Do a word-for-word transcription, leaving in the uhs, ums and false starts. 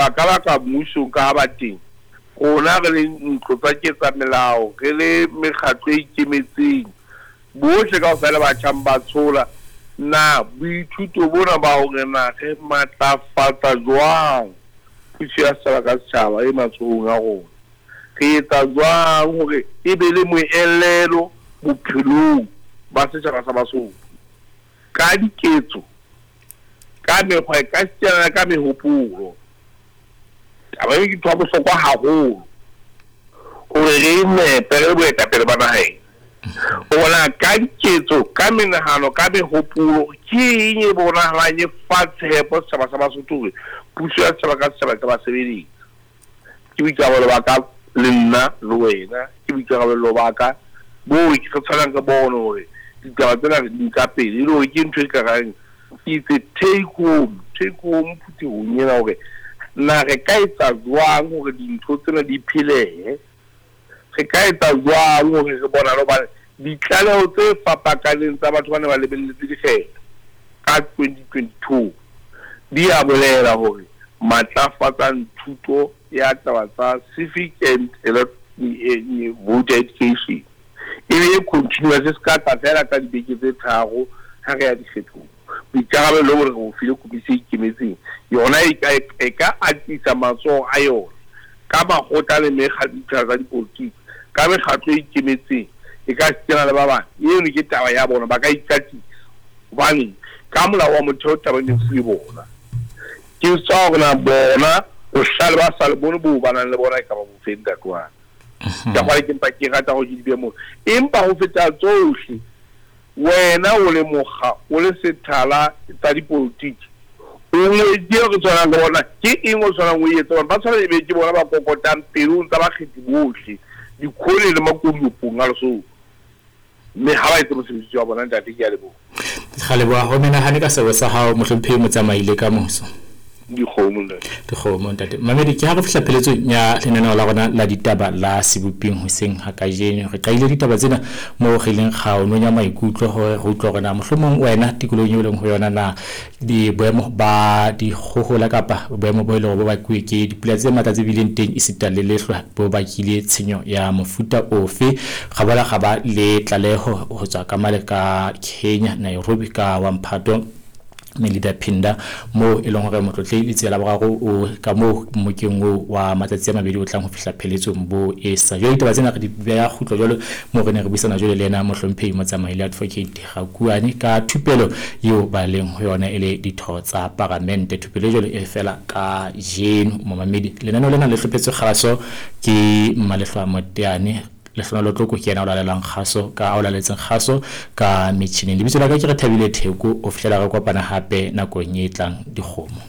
Ka baka mmusong ka ha ba teng, rona re le ntlo tsa ketsamelao, re le mekgatlo e ikemetseng, bohle kaofela ba tjhang ba tshola. Na boithuto bona ba hore na re matlafatsa jwang puso ya setjhaba ka setjhaba e matsohong a rona, re etsa jwang hore e be le moelelo bophelong ba setjhaba sa Basotho ka diketso, ka mekgwa, ka setsana, ka mehopolo. Taba eo ke ntho ya bohlokwa haholo hore re nepe re le boetapele ba naha ena. Bona ka diketso, ka menahano, ka mehopolo, ke eng e bonahalang e fa tshepo setjhaba sa Basotho hore puso ya setjhaba ka setjhaba e ka ba sebeletsa. Ke boikarabelo ba ka le nna le wena, ke boikarabelo ba ka boo re tshwanang re bone hore ditaba tsena re di nka pele, e le hore ke ntho e ka reng ke itse take home, take home phuthehong ena hore na re ka etsa jwang hore dintho tsena di phelehe, re ka etsa jwang hore re bonahale hobane ditlaleho tse fapakaneng tsa batho ba ne ba lebelletse dikgetho ka twenty twenty-two di a bolela hore matlafatsang thuto ya taba tsa civic and voter education e be e continuous, se ka tla fela ka dibeke tse tharo ha re ya dikgethong. Boikarabelo bo re bo file komisi e ikemetseng yona e ka e ka atisa matsoho a yona ka makgotla le mekgatlo tsa dipolotiki, ka mekgatlo e ikemetseng, e ka kena le ba bang. Eno ke taba ya bona, ba ka ikatisa hobane ka molao wa motheo taba e fuwe bona. Ke tswa hore na bona bohlale ba sa le bone bo ba nang le bona e ka ba bo feng ntate wa ka. Ka hore ke mpa ke rata hore ke di behe moo. Empa ho feta tsohle, wena o le mokga, o le sethala tsa dipolotiki, o ngwedi eo re tshwanang le bona, ke eng o tshwanang o e etse? Ba tshwana ebe ke bona ba kokotang pelong tsa bakgethi bohle, dikhole le makodiopong a Lesotho. Mme ha ba etse mosebetsi wa bona, ntate, ke a leboha. Re leboha ho menahane ka sebo sa hao, mohlomphehi Motsamaile ka moso. Dikgomo, ntate. Dikgomo, ntate. Mamedi, ke ha re fihla pheletsong ya lenaneo la rona la ditaba la seboping hoseng ha kajeno. Re qadile ditaba tsena moo re ileng ra o nonya maikutlo hore re utlwe hore na mohlomong wena tikolohong eo leng ho yona na di boemo ba dikgohola kapa boemo bo e leng hore bo bakuwe ke dipula tse matla tse bileng teng esita le lehlwa bo bakile tshenyo ya mofuta ofe. Ra boela ra ba le tlaleho ho tswa ka male ka Kenya, Nairobi, ka wa Mphato Melida Phinda, moo e leng hore motlotlehi Letsie la Boraro o ka moo mmokeng oo wa matsatsi a mabedi o tlang ho fihla pheletsong bo e sa. Jwale ditaba tsena re di beha kgutlo jwalo moo re ne re buisana jwale le yena mohlomphehi Motsamaile Advocate Rakuane ka thupelo eo ba leng ho yona e le ditho tsa paramente. Thupelo e jwalo e fela ka jeno momamedi. Lenaneo lena le hlophetswe kgaso ke Mmalehlwa Moteane. Lehlohonolo Tloko ke yena o lalelang kgaso ka o laletseng kgaso ka metjhineng. Lebitso la ka ke Rethabile Theko, ho fihlela re kopana hape nakong e tlang. Dikgomo.